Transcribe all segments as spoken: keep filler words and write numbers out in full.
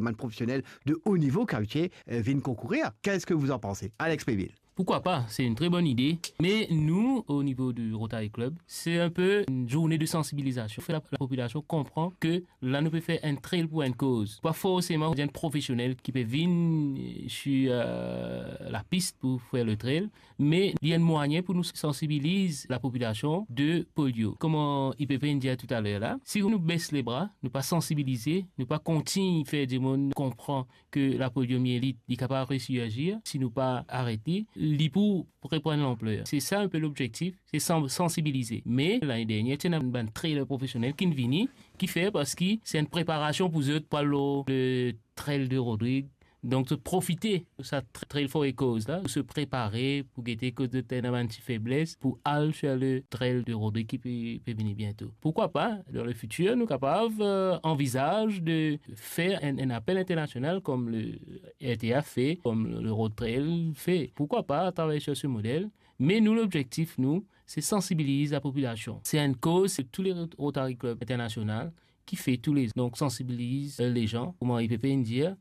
bann profesionel de haut niveau ki abitie, euh, vinn konkourir. Qu'est-ce que vous en pensez, Alex Peville? Pourquoi pas? C'est une très bonne idée. Mais nous, au niveau du Rotary Club, c'est un peu une journée de sensibilisation. Faire la, la population comprend que la nou pe fer enn trail pour une cause. Pas forcément un professionnel qui peut venir sur, euh, la piste pour faire le trail, mais il y a un moyen pour nous sensibiliser la population de polio. Comme il peut venir tout à l'heure là, si nous baissons les bras, nou pa sensibilize, nou pa kontign fer dimoun konpran ke la poliomyelite, li kapav resurgir, si nou pa arete, li pou reprann lanpler. Se sa inpe lobzektif, se san-, sansibilize. Me lane dernie, ti ena bann trail profesionel ki vini, ki fer, parski se enn preparasion pou zot pou al lor le trail de Rodrig. Donk, zot profite sa tra-, trail for a cause la, pou se prepare, pou gete kot zot ena bann ti febles, pou al sur le trail de Rodrig ki pe, pe vini biento. Pourquoi pas, dans le futur, nou kapav, euh, anvizaz de fer enn, enn apel internasional kom le R T A fer, kom le Road Trail fer. Pourquoi pas travay sur ce modèle? Me nou, lobzektif nou, se sansibiliz la populasion. Se enn koz, se tou le Rotary Club Internasional ki fer tou le, donk, sansibiliz, euh, le zan, kouma li pe dir,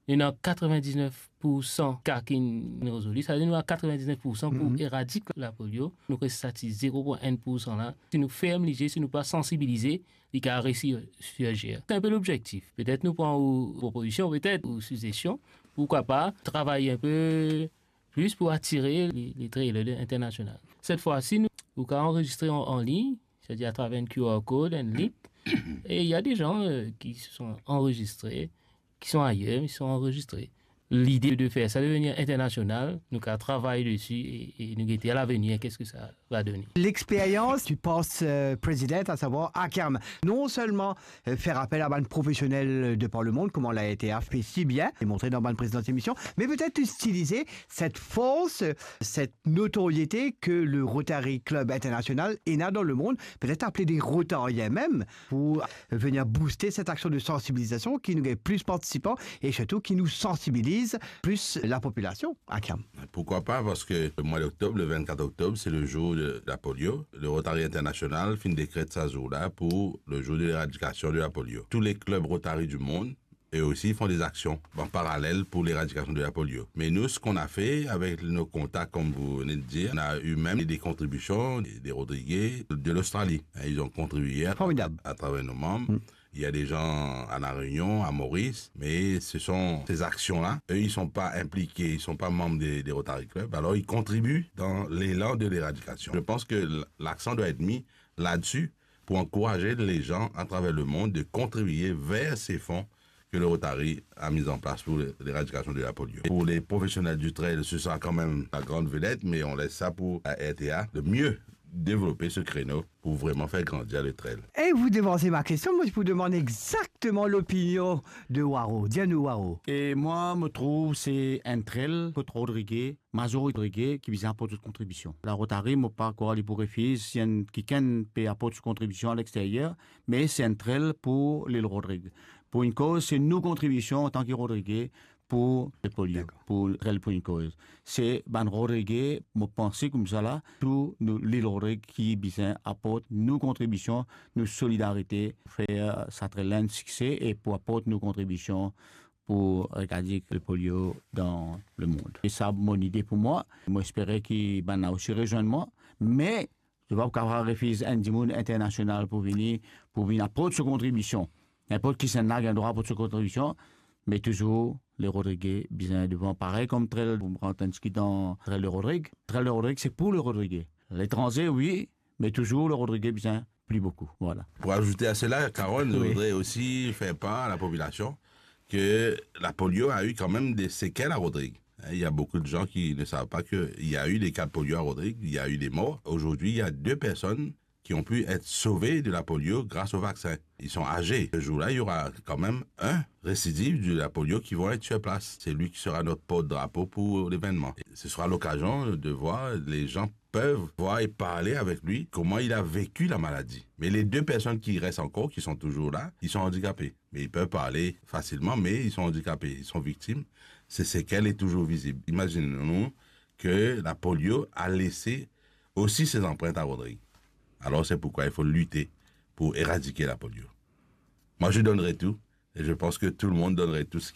nou ena katrevin-diznef poursan ka ki nou rezoli, savedir nou ena katrevin-diznef poursan pou eradik la polio. Nou res sa ti zero pwin enn poursan la. Si nou ferm lizie, si nou pa sansibilize, li kapav resurgir. Se inpe lobzektif. Petet nou pran ou propozision, petet ou sizesion, pourquoi pas travay inpe plis pou atire le, le trailer internasional. Set fwa si nou, ou kapav anrezistre an, an lign, c'est-à-dire à travers un Q R code, un link, et il y a des gens, euh, qui se sont enregistrés, qui sont ailleurs, mais ils sont enregistrés. L'idée de faire ça devenir international, nou kapav travay desi e, e nou gete à l'avenir, qu'est-ce que ça va donner. L'expérience du past, euh, président, à savoir Akam, non seulement, euh, faire appel à bann professionnels de par le monde, kouma la été fait si bien, et montré dans bann précédentes émissions, mais peut-être utiliser cette force, cette notoriété que le Rotary Club International ena dans le monde, peut-être appeler des Rotariens même, pour venir booster cette action de sensibilisation, ki nou gagn plis partisipan e sirtou ki nou sansibiliz plis la populasion. Akam. Pourquoi pas, parce que le mois d'octobre, le vingt-quatre octobre, c'est le jour de la polio. Le Rotary International finn décrète sa zour la pour le jour de l'éradication de la polio. Tous les clubs Rotary du monde, eux aussi, font des actions en parallèle pour l'éradication de la polio. Mais nous, ce qu'on a fait avec nos contacts, comme vous venez de dire, on a eu même des contributions des, des Rodriguais de l'Australie. Hein, ils ont contribué à, à travers nos membres. Il y a des gens à La Réunion, à Maurice, mais ce sont ces actions-là. Eux, ils sont pas impliqués, ils sont pas membres des, des Rotary Club. Alors, ils contribuent dans l'élan de l'éradication. Je pense que l-, l'accent doit être mis là-dessus pour encourager les gens à travers le monde de contribuer vers ces fonds que le Rotary a mis en place pour l'éradication de la polio. Pour les professionnels du trail, ce sera quand même la grande vedette, mais on laisse ça pour la R T A de mieux développer ce créneau pour vraiment faire grandir le trail. Et vous devancez ma question, moi je vous demande exactement l'opinion de Waro. Dis-nous, Waro. E mwa, mo trouv se enn trail kot Rodrige, mazorite Rodrige ki bizin aport zot kontribision. La Rotary, mo pa krwar li pou refiz si enn kikenn pe aport so kontribision a lexteryer, me se enn trail pou lil Rodrig. Pou enn koz, se nou kontribision antan ki Rodrige pou le polio, pou trail pou enn koz. Se bann Rodrige, mo panse koumsa la, tou nou lil Rodrig ki bizin aport nou kontribision, nou solidarite, fer sa trail la enn sikse e pou aport nou kontribision pou eradiker le polio dan le mond. E sa mo lide pou mwa. Mo espere ki bann la osi rezwenn mwa. Me zot pa pou kapav refiz enn dimoun internasional pou vini, pou vinn aport so kontribision. Ninport kisannla gagn drwa aport so kontribision, me touzour le Rodrige bizin devan, parey kom trail, pou pran enn ki dan trail de Rodrig. Trail de Rodrig, se pou le Rodrige. Letranze, wi, me touzour le Rodrige bizin pli boukou. Voilà. Pour ajouter à cela, Carole, je voudrais aussi faire part à la population que la polio a eu quand même des séquelles à Rodrigue. Hein, il y a beaucoup de gens qui ne savent pas qu'il y a eu des cas de polio à Rodrigue, il y a eu des morts. Aujourd'hui, il y a deux personnes qui ont pu être sauvées de la polio grâce au vaccin. Ils sont âgés. Ce jour-là, il y aura quand même un récidive de la polio qui vont être sur place. C'est lui qui sera notre porte-drapeau pour l'événement. Ce sera l'occasion de voir les gens peuvent voir et parler avec lui comment il a vécu la maladie. Mais les deux personnes qui restent encore, qui sont toujours là, ils sont handicapés. Mais ils peuvent parler facilement, mais ils sont handicapés, ils sont victimes. Ces séquelles est toujours visible. Imaginons-nous que la polio a laissé aussi ses empreintes à Rodrigue. Alors c'est pourquoi il faut lutter pour éradiquer la polio. Moi, je donnerai tout. Et je pense que tout le monde donnerait tout ce